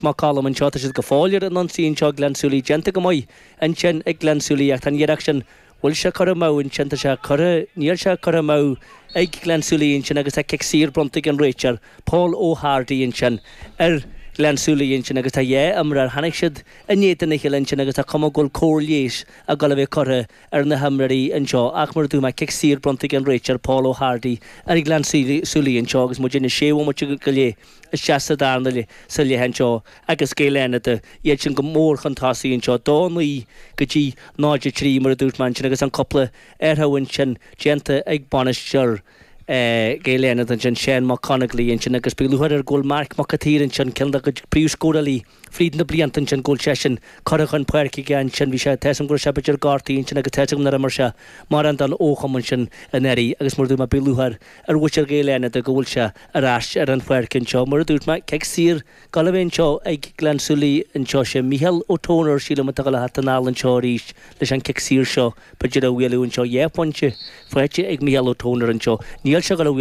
Mac Coluim anseo, tá siad go fóill ar an ionsaí anseo, Gleann tSúilí déanta go maith ansin ag Gleann tSúilí ach tá an iarracht sin, bhfuil sé curtha amú ansin, tá sé curtha, níl sé curtha amú ag Gleann tSúilí ansin agus tá cic saor bronnta ag an réiteoir, Paul O'Hardy ansin ar Ghleann tSúilí ansin agus tá dhá imreoir, tháinig siad in éadan a chéile ansin agus tá cuma go bhfuil cóir leighis ag dul a bheith curtha ar na himreoirí anseo ach mar a dúirt mé, cic saor bronnta ag an réiteoir, Paul O'Hardy ar Ghleann tSúilí anseo agus muid ina sé bhomaite go leith. isteach sa darna leath sa leath anseo agus Gaeil Fhánada, iad sin go mór chun tosaigh anseo, 2, 9 go dtí 0, 3 mar a dúirt mé ansin agus an cúpla athrú ansin déanta ag bainisteoir Gaeil Fhánada ansin, Seán Mac Conaglaigh ansin agus beidh lúcháir air go bhfuil Marc Mac an tSaoir ansin, ceann dá gcuid príomhscórálaí fríd na blianta ansin, go bhfuil seisean curtha chun páirce aige ansin. Bhí sé, tá 'fhios agam go raibh sé b'fhéidir gortaithe ansin agus tá 'fhios agam nár imir sé mórán don fhochumann sin anuraidh agus mar a dúirt mé beidh lúcháir ar mhuintir Ghaeil Fhánada go bhfuil sé ar ais ar an pháirc anseo. Mar a dúirt mé, cic saor dul a bheith anseo ag Gleann tSúilí anseo. Sé Mícheál Ó Tónair, sílim, atá ag dul a theacht anall anseo arís leis an cic saor seo, b'fhéidir a bhualadh anseo. Dhá phointe faighte ag Mícheál Ó Tónair anseo. Níl sé ag dul a bhualadh.